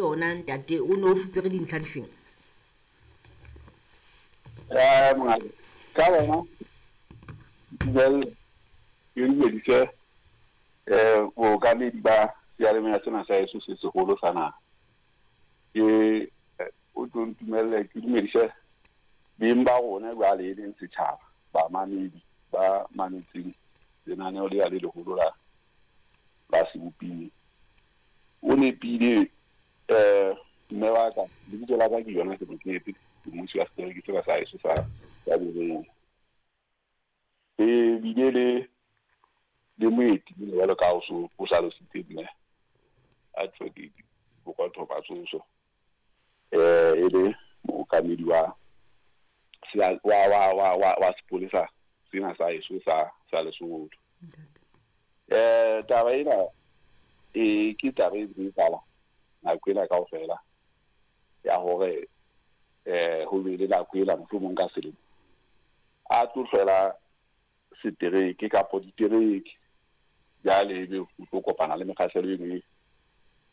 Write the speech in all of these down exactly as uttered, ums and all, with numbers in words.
Ona ntate, o ne o fupere dintlha difeng? Eh mongaka, ka bona dumelle ke dumedise eh bookamedi ba seyalemoya sena sa heso se seholo sa naha. Ke o tlo ntumelle ke dumedise beng ba rona jwale e leng setjhaba, bamamedi ba mametseng lenaneo lena le leholo la la Seboping. O nepile eh mme wa ka, lebitso la ka ke yona Mokete, ke mmusi wa setereke sena sa heso sa sa Berea. E bile le le moeti jwalo ka ha o so o hlalositse mme Advocate Bokotho Matsoso, eh e le mookamedi wa wa wa wa wa wa sepolesa sena sa heso sa sa Lesotho. Eh taba ena e ke taba e ntse e etsahala nako ena kaofela ya hore eh ho be le nako ena mohlomong ka selemo a tlo hlwela setereke kapa ditereke, jwale ebe o tlo kopana le mekgahlelo e meng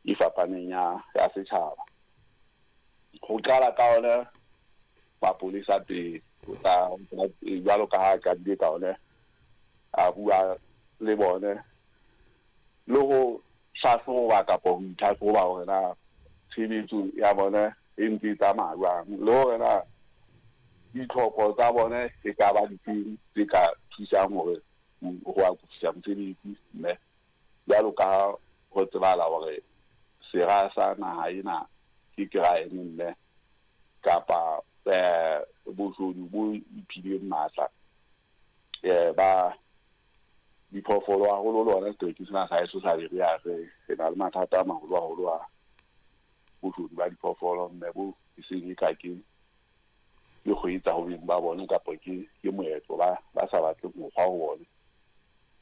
e fapaneng ya ya setjhaba. Ho qala ka ona mapolesa pele, ho tla jwalo ka ha qadile ka ona a bua le bone le ho hlahloba kapa ho itlhahloba hore na tshebetso ya bona e ntse e tsamaya jwang, le hore na ditlhoko tsa bone e ka ba difeng tse ka thusang hore ho akofisa mosebetsi. Mme jwalo ka ha ho tsebahala hore sera sa naha ena ke crime mme kapa eh boshodu bo iphileng matla eh ba diphoofolo haholo le hona setereke sena sa heso sa Berea re re na le mathata a maholo haholo a boshodu ba diphoofolo, mme bo e seng e ka ke ke kgwetsa ho beng ba bone kapa ke ke moetlo ba ba sa batleng mokgwa ho bone.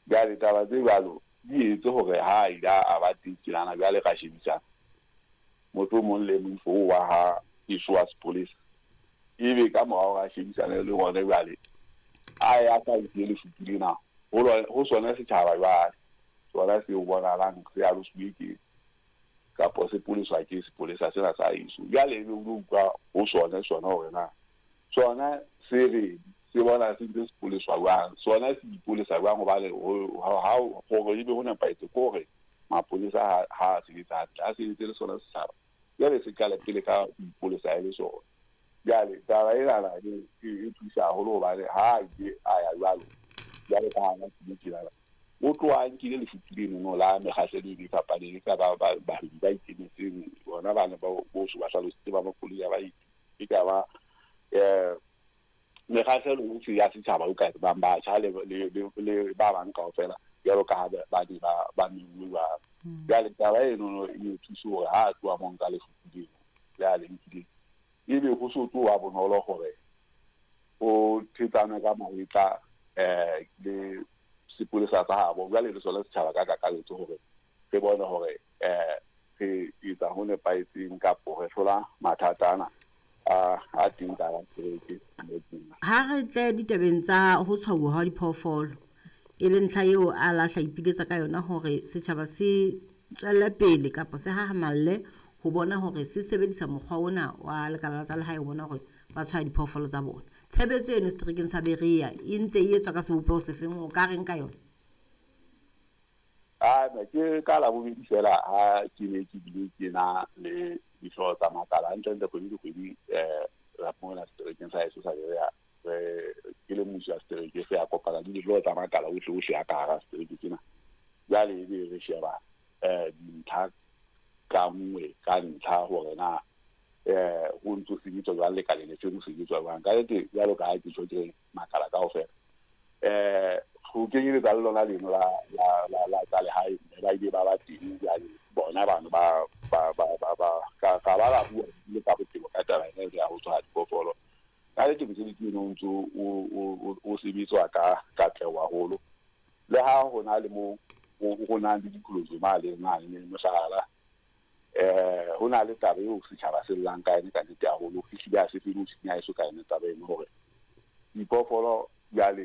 Jwale taba tse jwalo di etse hore ha ile a ba teng tjenana, jwale ra shebisana motho o mong le moifo oo wa ha eso wa sepolesa, ebe ka morao ra shebisane le bona jwale a ya sa ise lefutu lena ho sona setjhaba jwale sona se bonahalang se alosuwe ke kapa se poleswa ke sepolesa sena sa heso. Jwale ebe o lo utlwa ho sona sona hore na sona se re se bona se ntse se poleswa jwang, sona se ipolesa jwang, hobane ha hore ebe ho nepahetse ke hore mapolesa ha ha sebetsa hantle, a sebetse le sona setjhaba, jwale se qale pele ka ho ipolesa e le sona. Jwale taba enana e thusa haholo hobane ha ile a ya jwalo jwalo ka ha a tjenana o tloha a nkile lefutu lenono la mekgahlelo e fapaneng, e ka ba bahwebi ba ikemetseng bona bana ba bohle ba hlalositse ba makoloi a baeti, e ka ba eh mekgahlelo yohle ya setjhaba o ka tsebang batjha le le ba bang kaofela jwalo ka ha ba ne ba ba menngwe jwalo. Jwale taba enono e thuse hore ha a tloha mo nka lefutu leno le a le nkileng, ebe ho so tloha bonolo hore o thetsane ka mahetla eh le sepolesa sa habo jwale le sona setjhaba ka kakaretso hore re bone hore eh re etsa ho nepahetseng kapo re hlola mathata ana a a teng ka setereke. Ha re tle ditabeng tsa ho tshwauwa ha diphoofolo, e le ntlha eo a lahla ipiletsa ka yona hore setjhaba se tswelle pele kapa se hahamalle ho bona hore se sebedisa mokgwa ona wa lekala la tsa lehae ho bona hore ba tshwaya diphoofolo tsa bona. Tshebetso eno seterekeng sa Berea e ntse e etswa ka sebopeho sefeng, o ka reng ka yona? Ah, ke ka labobedi fela ha ke ne ke bile ke na le dihlooho tsa makala hantlentle kgwedi le kgwedi eh ra mona seterekeng sa heso sa Berea re ke le mmusi wa setereke se ya kopana le dihlooho tsa makala ohle ohle a ka hara setereke sena. Jwale ebe re sheba eh dintlha ka nngwe ka ntlha hore na eh ho ntso sebetswa jwang lekaleng le feng ho sebetswa jwang. Ka nnete jwalo ka ha ke tjho ke makala kaofela eh ho kenyeletsa le lona leno la la la la tsa lehae mme ba ile ba ba teng jwale bona bano ba ba ba ba ba ka ka ba ba bua le ka botebo ka taba ena ya ho tshwara diphoofolo. Ka nnete mosebetsi ono o ntso o o sebetswa ka katleho haholo, le ha ho na le mo ho nang le diqholotso mane mane mohlala eh ho na le taba eo setjhaba se llang ka yona ka nnete haholo, ehlile ha se fele ho senya heso ka yona taba eno hore diphoofolo jwale